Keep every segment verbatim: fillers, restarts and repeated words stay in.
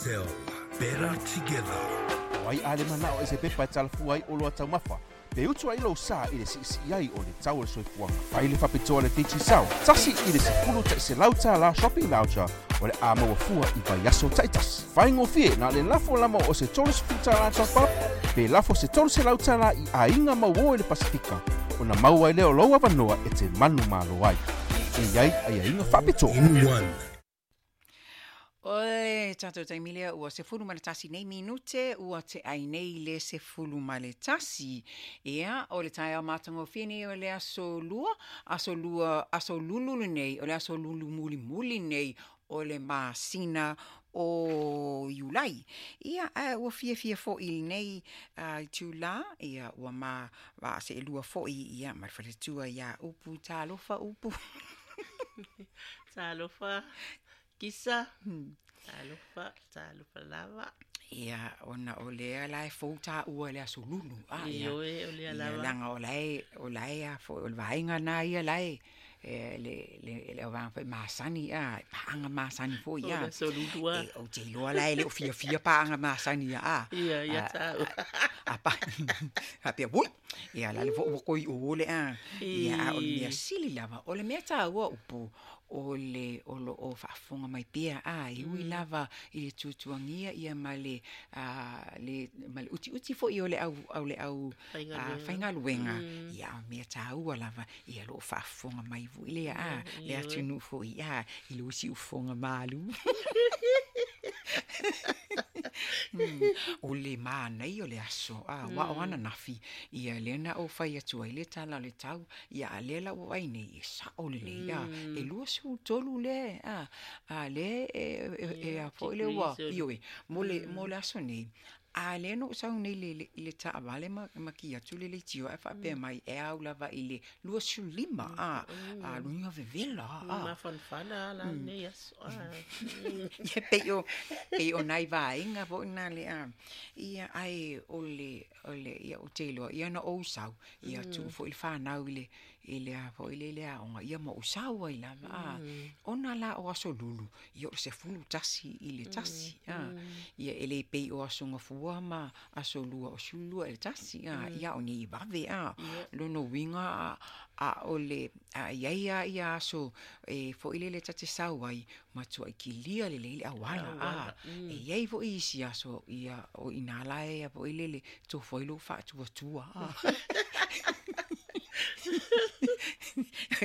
Sell better together. O ai a le manao e se pepa e talafua ai o loa taumafa, pe utu ai lou sa i le siisii ai o le tau o le soifuaga. Fai le faapitoa le Digicel, tasi i le sefulu ta'iselau tālā shopping voucher o le a maua fua i vaiaso ta'itasi. Faigofie na o le lafo lama o se tolu sefulu tālā top up, pe lafo se tolu selau tālā i aiga mauō i le Pasifika, ona maua ai lea o lou avanoa e te manumalo ai. E i ai aiaiga faapitoa. In one. O le tatou taimi lea ua sefulu ma le tasi nei minute ua te'ai nei le sefulu ma le tasi. Ia, o le taeao matagofie nei o le aso lua, aso lua, aso lulu lenei, o le aso lulu mulimuli nei o le masina o Iulai. Ia, ae ua fiafia fo'i lenei uh, itulā, ia ua ma vaase'elua fo'i ia ma le faletua iā Upu. Talofa, Upu. Talofa, Kisa. Talofa, talofa lava. Ia, ona o lea la e fou tāua le aso lulu. Ah, ia. Ioe, o lea Ia, lava. laga o lae, o lae a foi, o le vaega na ia lae, e, le, le, le auvaga foi masani, a, paaga masani foi, O a. le aso lulu a. E, ou te iloa la e le o fiafia paaga masani ia, a. Ia, ia A, tāua. a, pa, a pea, ui, ia la le fo ua koi o le a. Ia, a o le mea I. sili lava, o le mea tāua upu, o le o lo o faafofoga mai pea a e ui lava i le tuatuagia ia ma le a, le ma le utiuti fo'i o le au au le au a, Faigaluega. Faigaluega ia o mea tāua lava ia lo o faafofoga mai fo'i lea a le Ioe. atunuu fo'i a i lou siufofoga malu. Mm. O le mānai o le aso, a, mm. wa o ananafi, ia lea na ou fai atu ai le tala o le tau, ia a lea la ua ai nei, e sa'o lelei, a, e lua sefulu tolu le, a, a le e, e, e, a foi le ua, degrees o- ioe, mo le, mo le aso nei, a lea na ou sau nei le, le, le taavale ma, ma ki atu le leitio ae faapea mai e au lava i le lua sefulu lima, a, a luga vevela, a. Mafanafana la nei aso. Ah. Ia pei o pei o nai vaega fo'i na le a ia ae o le o le ia ou te iloa ia na ou sau ia tuu fo'i le fanau i le i le a fo'i le le aoga ia ma ou sau ai lava a ona la o aso lulu ia o le sefulu tasi i le tasi a ia e le pei o aso gafua ma aso lua o sefulu lua i le tasi a ia o nei vave a lona uiga a a o le a iai a ia aso e fo'i lele ta te sau ai matua'i kilia lelei le auala a e iai fo'i isi aso ia o inā la e a fo'i lele tofo ai lou faatuatua a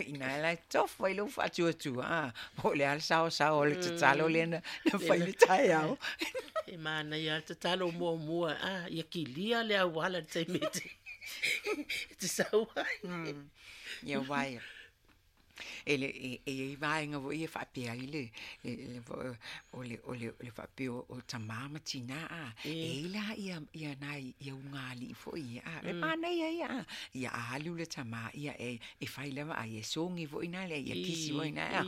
ina la e tofo ai lou faatuatua a po o le a le saosao o le tatalo lea na na fai le taeao. E manaia le tatalo muamua a ia kilia le auala le taimi e te e te sau ai. Ia uae e le e e iai vaega fo'i e faapea ai le le le o le o le o le faapea o o tamā ma tinā a e i la ia ia nai ia ugalii fo'i ia a le manaia ia a ia a alu le tamā ia e e fai lava ai e sogi fo'i na lea ia kisi fo'i na a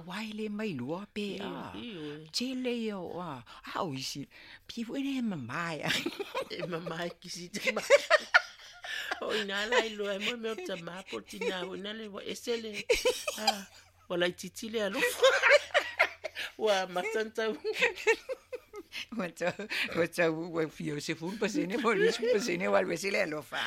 auā e lē mai lua pe a Ioe. tele ia o a a o isi pei fo'i na e mamā e a. E mama e kisi te ma. O ina la iloa e mo mea o tamā po o tinā o ina le ua ese le. Ah, ua laitiiti le alofa. Ua amata ona tau. Ua tau ua tau ua fia o sefulu pasene po o le luasefulu pasene ua alu ese le alofa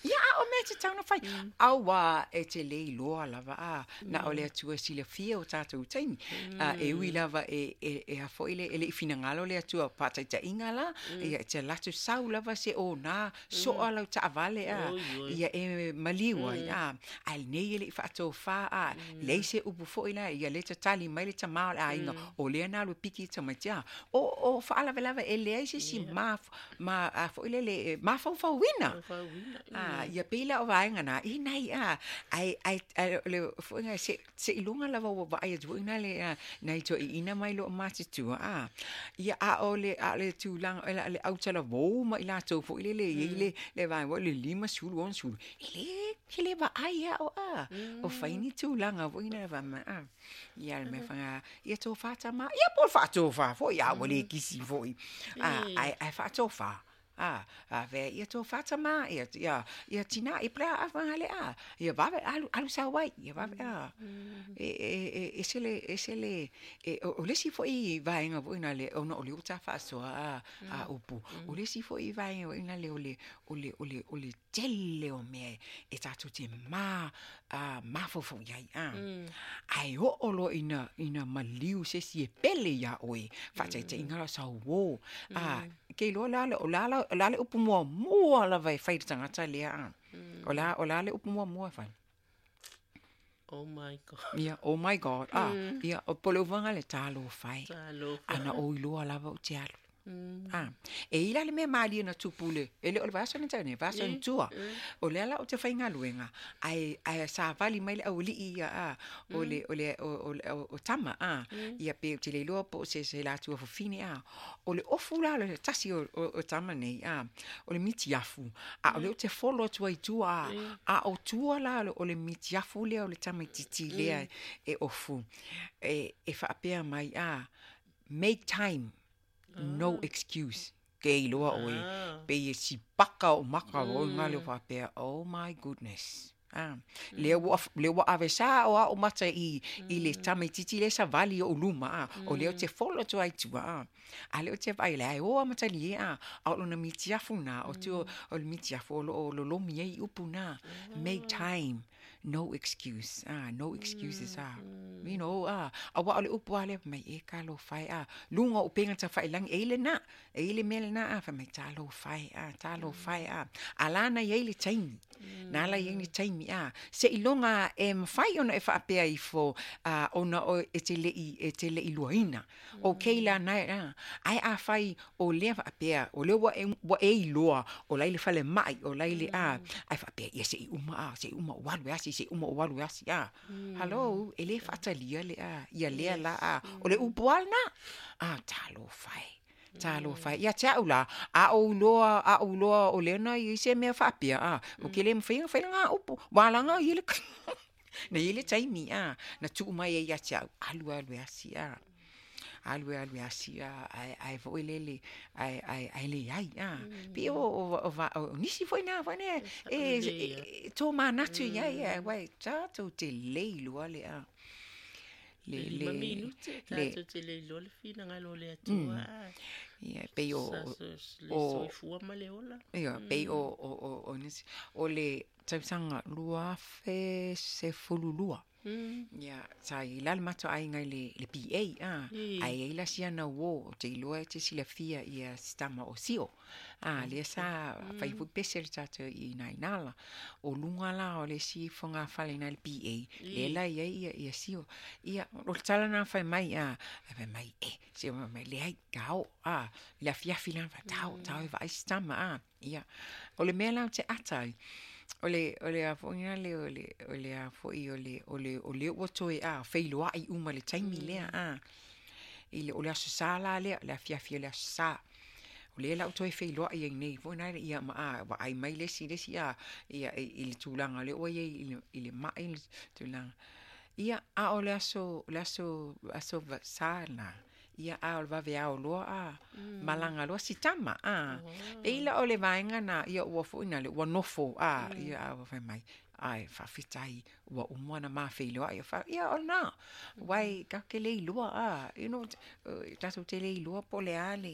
ia a o mea tatau ona fai auā e te lē iloa lava a na o le Atua e silafia o tatou taimi a e ui lava e e e a fo'i le e le'i finagalo le Atua faataita'iga la ia e te alu atu sau lava se onā so'a lau taavale a Oi, oi. ia e maliu ai a ae lenei e le'i faatofā a leai se upu fo'i la ia lē tatali mai le tamā o le aiga o lea na alu e piki tamaiti a o o faalavelave e leai se isi ma ma a fo'i lele e mafaufauina. Faufauina. A ia pei la o vaega na i nai a ai ai ai le fo'iga se se iloga lava ua vaai atu fo'i na le a nai toeaiina mai loo matutua a ia a o le a o le tulaga o le le autalavou ma i latou fo'i lele i ai le le vaega foi le lima sefulu ono sefulu e lē e lē vaai a o a o fai ni tulaga fo'i na va ma a ia le mea faga ia tofā tamā ia po o le faatofā fo'i a ua lē kisi fo'i a ae ae faatofā. A a ve ia to fatama ia ia ia tina i pla a le a ia vave alu alu sa wai ia vave a e e e sele e sele e o le si foi vaenga foi na le ona o le uta faasoa a a upu o le si foi vaenga foi na le o le o le o le o le tele o mea e tatou te ma a mafaufau i ai a ae oo loa ina ina maliu se isi e pele iā oe faataitaiga la sau uō a ke iloa la le o la o la le upu muamua lava e fai le tagata lea a o la o la le upu muamua e fai. Oh my God. Ia, oh my God. Ah, ia, o po le uvaga le talofa e. Talofa. Ana ou iloa lava ou te alu. Ah, e ila le mea malie na tupu le, e le o le vaiaso na tea nei, vaiaso na tua. O lea la o te faigaluega, ae ae savali mai le aualii ia a, o le o le o o o tama a, ia pe ou te le iloa po o se se latua fafine a. O le ofu la le tasi o o o tama nei a, o le mitiafu, a o lea ou te folo atu ai i tua a, a o tua la o le mitiafu lea o le tamaitiiti lea e ofu. E e faapea mai a, make time. No excuse. Ke iloa oe. Pei e sipaka o maka o ngā leo faapea, oh my goodness. Ah, lea ua lea ua ave sa o ao mata i i le tamaitiiti le savali o luma a o lea o te folo atu ai tua a a lea o te vaai le ai o a matali e a a o lona mitiafu na o te o le mitiafu o lo o lolomi ai upu na make time no excuse ah no excuses ah you know ah aua o le upu a lea mai e talofa e a luga o upega tafailagi e i lenā e i le mea lenā a fai mai talofa e a talofa e a a lana i ai le taimi na ala i ai le taimi a seiloga e mafai ona e faapea ifo a ona o e te le'i e te le'i luaina okay la na a ae afai o lea faapea o lea ua e ua e iloa o lai le falema'i o lai le a ae faapea ia se'i uma a se'i uma ou alu e asi se'i uma ou alu e asi a hello e lē faatalia le a ia lea la a o le upu a lenā a talofa e talofa e ia te a'u la a ou iloa a ou iloa o lea na i ai se mea faapea a o ke lē mafai ona fai lagā upu ua alaga ai le na i ai le taimi a na tuu mai ai ia te a'u alu alu e asi a alu e alu e asi a ae ae foi lele ae ae ae leai a pei o o o o nisi foi na foi ne e to manatu i ai e uai tatou te le iloa le a le Le le lima minute le tatou te le iloa le finagalo o le Atua a. ia pei o Sa le o soifua ma le ola. ia pei o o o o nisi o le tausaga lua afe sefululua Mm. ia sa i la le matou aiga i le le P A a I. ae ai la siana uō ou te iloa e te silafia ia sitama o sio a lea sa fai foi pese le tatou i ina ina la o luga la o le isi fogafale ina i le P A lea la i ai ia ia sio ia o le tala na fai mai a ae fai mai e se fai mai leai tao a i le afiafi la fai tao tao e vaai sitama a ia o le mea la ou te ata ai o le o le a foi na le o le o le a foi o le o le o le ua toe a feiloa'i uma i le taimi lea a i le o le aso sa la lea le afiafi o le aso sa o lea la ou toe feiloa'i ai nei foi na ia ma a vaai mai le isi le isi a ia i, i le tulaga lea ua iai i le i le ma'i le tulaga ia a o le aso le aso aso sa la ia a o le vaveao loa a malaga loa sitama a pei la o le vaega na ia ua foi na le ua nofo a ia a ua fai mai ai faafetai ua uma ona mafeiloai fa ia o lena uae tatou te le iloa a you know tatou te le iloa po o le a le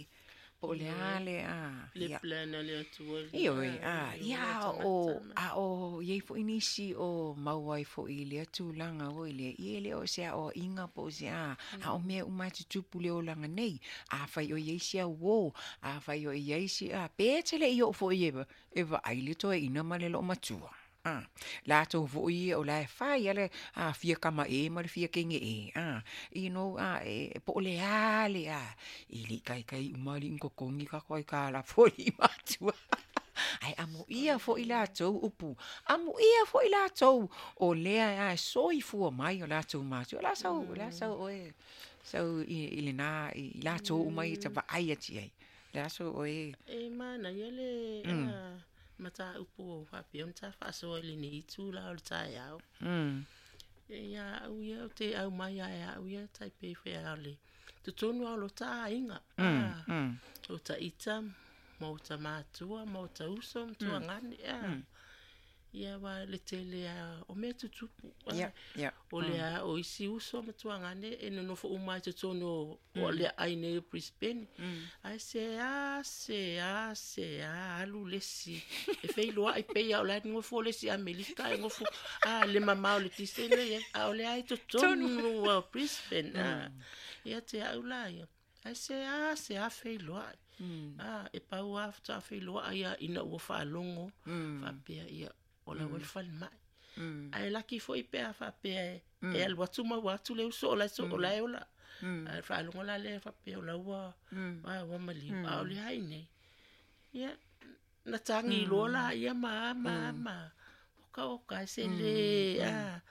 po o le a le a Le ia plan a le Atua Ioe, a a, le ia ola o, tagata ma. a o, iai foi nisi o maua ai foi i lea tulaga oi lea, ia e le o se aoaiga po o se a, a o mea uma e tutupu le olaga nei, afai o iai se auō, afai o iai se a, pe te le'i oo foi e, e vaai le toeaina ma le loomatua. A, latou foi ia o la e fai a le a fia kamaʻē ma le fia kegeʻē a you know a e po o le a le a e leʻi kaikai uma aliʻi ni totogi tatou ai kālā foi i matua ae amuia foi latou upu amuia foi latou o lea a e soifua mai o latou matua o la sau o la sau oe sau i, i lenā i latou uma ia tavaai atu i ai le aso oe E manaia le a mataupu o faapea ona ta faasoa i lenei itu la o le taeao. mm E ia au ia o te au mai ae au ia tai pei fea o le totonu lava o lo ta aiga. A mm o taita ma o tamatua ma o tauso ma tuagane a ia wa le tele a o mea tutupu ia ia o le a o isi uso ma tuagane e nonofo uma ai totonu o le ai nei o Brisbane ai se a se a se a alu lesi e feiloai pei a o la ngofo lesi Amerika e ngofo a le mamao le tisene ia a o le ai totonu o Brisbane a ia te au la ia ai se a se a feiloai a e pau a ta feiloai ia ina ua faalogo faapea ia o la ua fale mai ai laki foi pe a faapea e alu atu ma ua atu le uso o la so o la e ola ai faalogo la le faapea o la ua a ua maliu a o le ai nei ia na tangi loa la ia ma ma ma o ka o ka se le a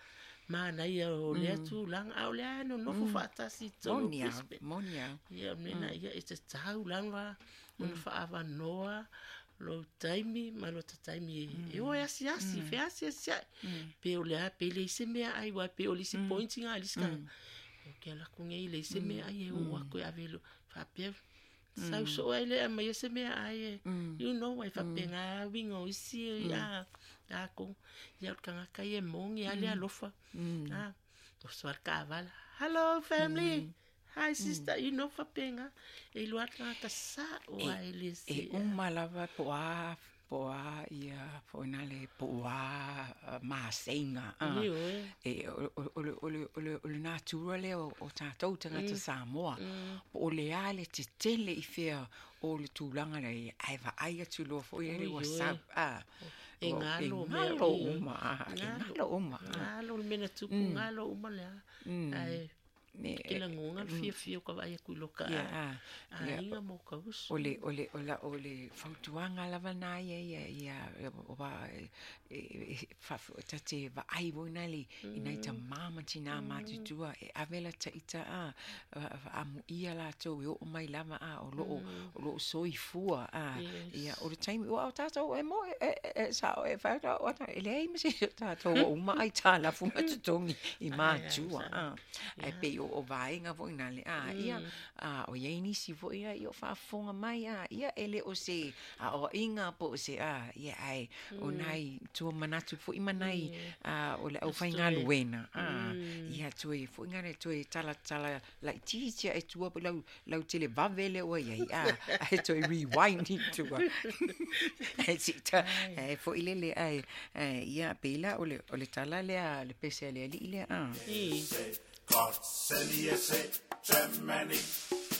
mana ia o le tulaga a o le ai nonofo faatasi tonu Monia monia ia mena ia e te tau lava ona faavanoa lo taimi ma lo taimi e o asi asi fe asi asi pe o le a pe le se mea ai wa pe o le se pointing a liska o ke la ku ngai le se mea ai e o ko avelo fa pe sau so ai le ma se mea ai you know ai fa pe nga wingo isi a a ko ia ka nga kai e mongi ale alofa a o so ka vala hello family. Hi sister, you know fapenga e lua ka sa o ai le se e uma lava po a po a ia po na le po a masenga a e o o o o o le natura le o tatou tagata Samoa po o le a le tetele i fea o le tulaga le ai vaai atu loa foi le WhatsApp a e ngalo ngalo uma e ngalo uma ngalo le mena tupu ngalo uma le ai ne ke la ngonga le fiafia o ka vaai aku i loka a aiga mo ka uso o le o le o la o le fautuaga lava na ia ia ia o va fa tate vaai voina le ina i tamā ma tinā matutua e ave la taita a amuia latou e oo mai lava a o loo o loo soifua a ia o le taimi ua o tatou e mo e e sao e fa o e leai ma se tatou ua uma ai talafu ma totogi i matua a ai pei o o vaega foi na le a ia a o ia nisi foi ia o faafofoga mai a ia e le o se a o inga po o se a ia ai o nai tua manatu foi manai a o le aufaigaluega a ia toe foi ngale toe tala tala laitiiti e tua lau lau tele vave le ua iai a ai toe rewind i tua ai sita ai foi lele ai ia pela o le o le tala lea le pese a le alii lea a Godt, selv I S A, tømmermænd.